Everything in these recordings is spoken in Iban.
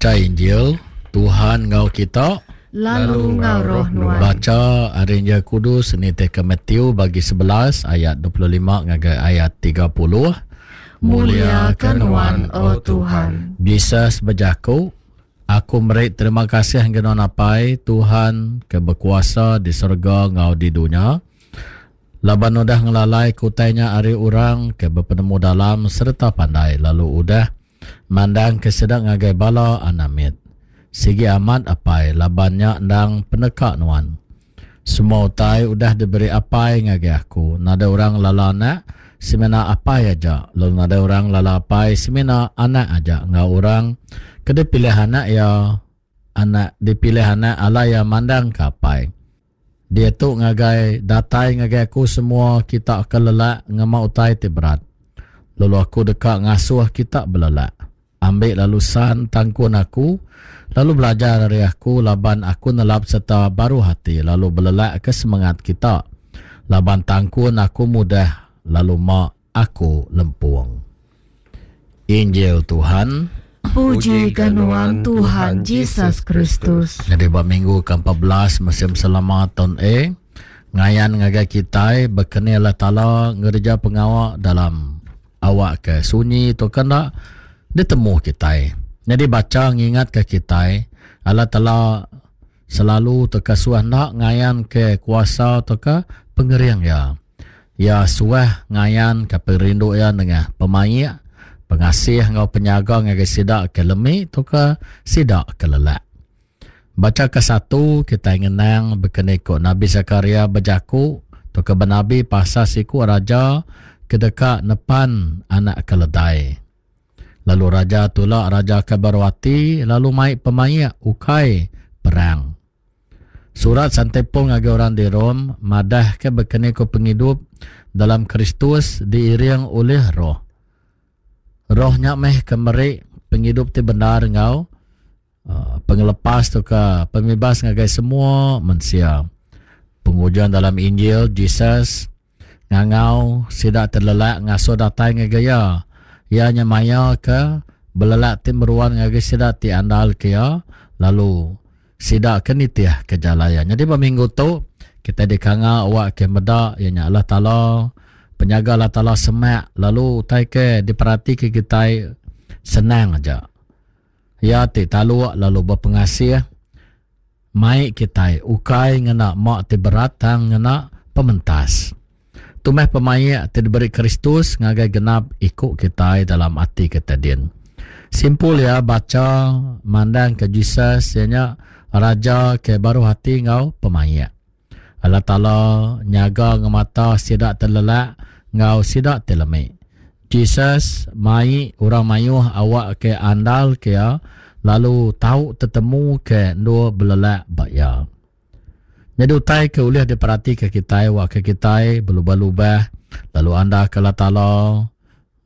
Bacha Injil, Tuhan enggau kita. Lalu enggau roh nuan. Bacha ari Injil Kudus nitihka Matthew bagi 11 ayat 25 ngagai ayat 30. Mulia ke nuan, O Tuhan. Jesus bejaku, Aku meri terima kasih ngagai nuan Apai, Tuhan ke bekuasa di serega enggau di dunya, laban udah ngelalaika utai nya ari orang ke bepenemu-dalam sereta pandai lalu udah mandangka sida ngagai bala anak mit. Sigi amat Apai, laban nya endang peneka nuan. Semua utai udah diberi Apai ngagai aku. Nadai orang ngelala Anak, semina Apai aja, lalu nadai orang ngelala Apai semina Anak aja enggau orang ke dipilih Anak iya, Anak dipilih Anak alai iya mandangka Apai. Diatu ngagai datai ngagai aku semua kita ke lelak ngema utai ti berat, lalu aku deka ngasuh kita belelak. Ambi lalu san tangkun aku, lalu belajar ari aku laban aku nelap sereta baruh ati lalu belelakka semengat kita, laban tangkun aku mudah lalu ma aku lempung. Injil Tuhan. Puji ke nuan Tuhan Jesus Kristus. Nyadi ba minggu ke 14 musim selama taun A, ngayan ngagai kitai bekeni Allah Taala ngereja pengawa dalam Awak ke sunyi tu ke enda ditemu kitai. Nyadi bacha ngingatka kitai, Allah Taala selalu tauka suah enda ngayanka kuasa tauka pengering Iya. Iya suah ngayanka pengerindu Iya nengah pemaik, pengasih enggau penyaga ngagai sida ke lemi tauka sida ke lelak. Bacha kesatu kitai ngenang bekeni ku Nabi Sakaria bejaku tauka benabi pasal siku raja ke deka nepan anak keledai. Lalu raja tula raja ke baruh ati lalu mai pemaik ukai perang. Surat Sante Paul ngagai orang di Rome madahka bekeni ku pengidup dalam Kristus diiring ulih Roh. Roh nya meh ke meri pengidup ti bendar enggau Pengelepas tauka pemibas ngagai semua mensia. Pengujung dalam Injil, Jesus ngangau sida ti lelak ngasuh datai ngagai iya. Iya nyemayaka belelak ti meruan ngagai sida ti andalka iya lalu sida ke nitihka jalai iya. Nyadi ba minggu tu, kitai dikangau awak ke meda iya nya Allah Taala, penyaga Allah Taala semak lalu utai ke diperatika kitai senang aja. Iya ti taluk lalu bepengasih mai kitai ukai ngena ma ti berat tang ngena pementas. Tu meh pemaik ti diberi Kristus ngagai genap iku kitai dalam ati kitai din. Simpul iya bacha mandangka Jesus iya nya Raja ke baruh ati enggau pemaik. Allah Taala nyaga ngemata sida ti lelak enggau sida ti lemi. Jesus mai orang mayuh awak ke andal ke iya lalu tau tetemu ke endur belelak ba iya. Nyadi utai ke ulih diperatika kitai awak ke kitai belubah-lubah lalu andal ke Allah Taala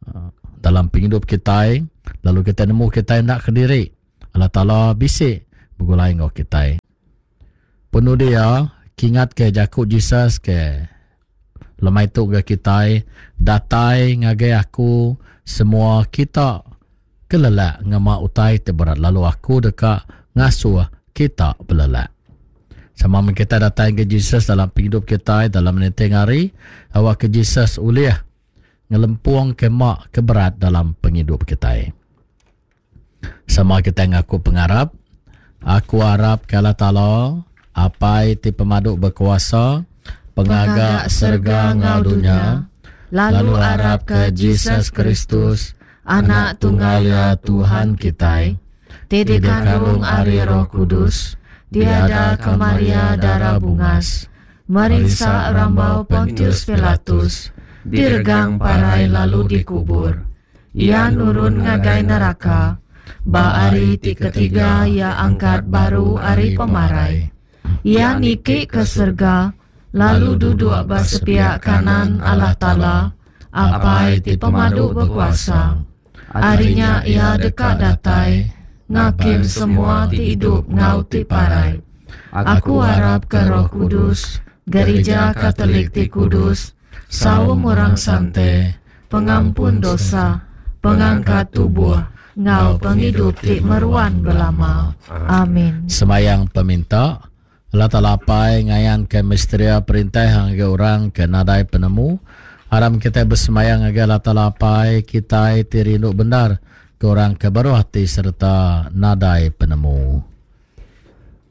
eh, dalam pengidup kitai lalu kitai nemu kitai enda kediri. Allah Taala bisi begulai enggau kitai. Penudi iya, kingatka jaku Jesus ke lemai tu ga kitai, Datai ngagai aku semua kita ke lelak ngema utai ti berat lalu aku deka ngasuh kita belelak. Sama meh kitai datai ngagai Jesus dalam pengidup kitai dalam ninting hari, awakka Jesus ulih ngelempungka ma ke berat dalam pengidup kitai. Sama kitai ngaku pengarap, Aku arap ke Allah Taala, Apai ti pemadu bekuasa, Pengaga serega enggau dunya, lalu arap ke Jesus Kristus, Anak tunggal Iya Tuhan kitai, ti dikandung ari Roh Kudus, diadaka Maria Dara Bungas, merinsa rambau Pontius Pilatus, diregang parai lalu dikubur. Iya nurun ngagai neraka. Ba hari ti ketiga iya angkat baru ari pemarai. Iya niki ke serega lalu duduk ba sepiak kanan Allah Taala, Apai ti Pemadu Bekuasa. Ari nya iya deka datai ngakim semua ti idup enggau ti parai. Aku arapka Roh Kudus, Gerija Katolik ti kudus, Saum orang sante, pengampun dosa, pengangkat tubuh, Ngau pengidup ti meruan belama. Amin. Semayang peminta, Allah Taala Apai ngayanka misteria perintah ngagai orang ke nadai penemu. Aram kitai besemayang ngagai Allah Taala Apai kitai ti rindu bendar ke orang ke baruh ati sereta nadai penemu.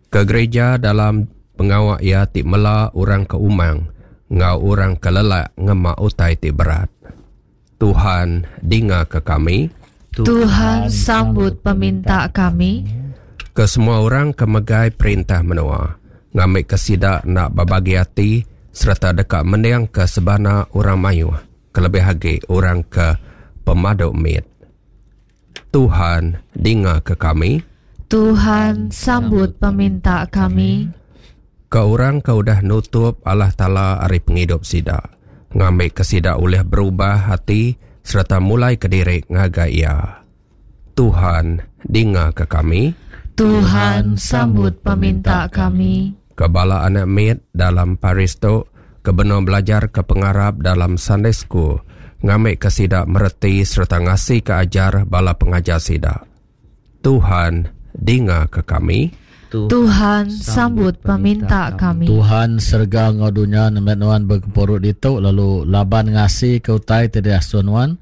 Ke gereja dalam pengawa iya ti mela orang ke umang enggau orang ke lelak ngema utai ti berat. Tuhan, dingaka kami. Tuhan, sambut peminta kami. Ke semua orang ke megai perintah menua, ngambika sida enda bebagi ati sereta deka mendingka sebana orang mayuh, kelebih agi orang ke pemadu mit. Tuhan, dingaka kami. Tuhan, sambut peminta kami. Ke orang ke udah nutup Allah Taala ari pengidup sida, ngambika sida ulih berubah ati sereta mulaika diri ngagai Iya. Tuhan, dingaka kami. Tuhan, sambut peminta kami. Ke bala anak mit dalam parish tu ke benung belajarka pengarap dalam Sunday School, ngambika sida mereti sereta ngasika ajar bala pengajar sida. Tuhan, dingaka kami. Tuhan, sambut peminta kami. Tuhan, serega enggau dunya nembiak Nuan begempuru ditu lalu laban ngasika utai ti diasuh Nuan,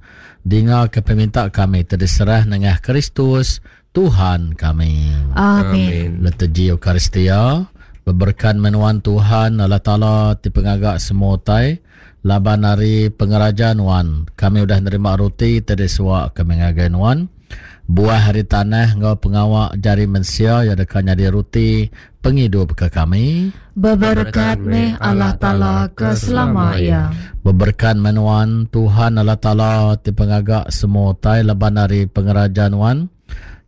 dingaka peminta kami ti diserah nengah Kristus, Tuhan kami. Amin. Liturgi Eucharistia, Beberekat meh Nuan Tuhan Allah Taala ti pengaga semua utai, laban ari pengeraja Nuan kami udah nerima roti ti disuwa kami ngagai Nuan. Buah ari tanah enggau pengawa jari mensia iya deka nyadi roti pengidup ke kami. Beberekat meh Allah Taala ke selama iya. Beberekat meh Nuan, Tuhan Allah Taala ti pengaga semua utai laban ari pengeraja Nuan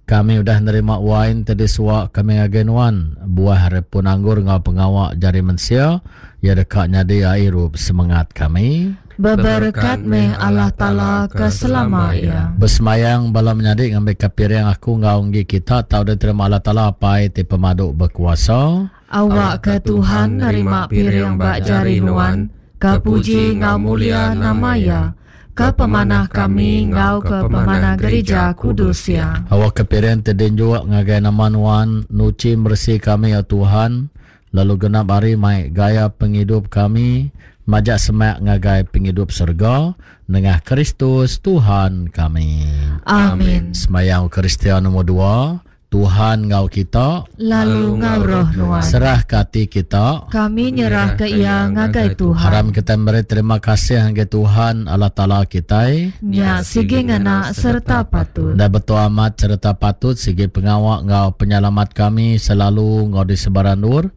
kami udah nerima wain ti disuwa kami ngagai Nuan. Buah ari pun anggur enggau pengawa jari mensia iya deka nyadi ai irup semengat kami. Beberekat meh Allah Taala ke selama iya. Besemayang bala menyadi ngambika piring aku enggau enggi kita tau diterima Allah Taala Apai ti pemadu bekuasa. Awakka Tuhan nerima piring ba jari nuan, ke puji enggau mulia nama Iya, ke pemanah kami enggau ke pemanah gerija kudus Iya. Awakka piring ti dinjuk ngagai nama Nuan nuchi meresi kami, O Tuhan, lalu genap hari mai gaya pengidup kami majak semak ngagai pengidup serega, nengah Kristus Tuhan kami. Amin. Semayang Eucharistia nombor dua, Tuhan enggau kita. Lalu enggau roh nuan. Serahka ati kita. Kami nyerahka iya ngagai Tuhan. Aram kitai meri terima kasih ngagai Tuhan Allah Taala kitai. Nya sigi ngena sereta patut. Enda betul amat sereta patut sigi pengawa enggau penyelamat kami selalu enggau di sebarang endur.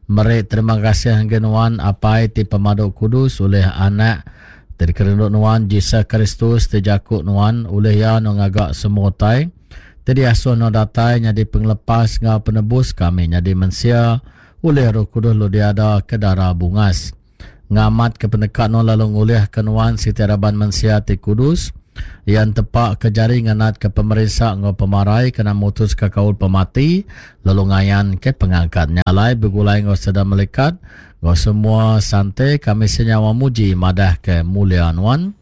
Meri terima kasih ngagai nuan Apai ti pemadu kudus ulih Anak ti dikerindu nuan Jesus Kristus ti jaku nuan ulih iya nuan ngaga semua utai. Ti diasuh nuan datai nyadi pengelepas enggau penebus kami nyadi mensia ulih Roh Kudus lalu diada ke dara bungas. Ngamatka peneka nuan lalu ngulihka nuan siti raban mensia ti kudus, iya entepa ke jari ngenatka pemerinsa enggau pemarai kena mutuska kaul pemati lalu ngayanka pengangkat. Nya alai begulai enggau seda melikat enggau semua sante kami senyawa muji madahka mulia nuan.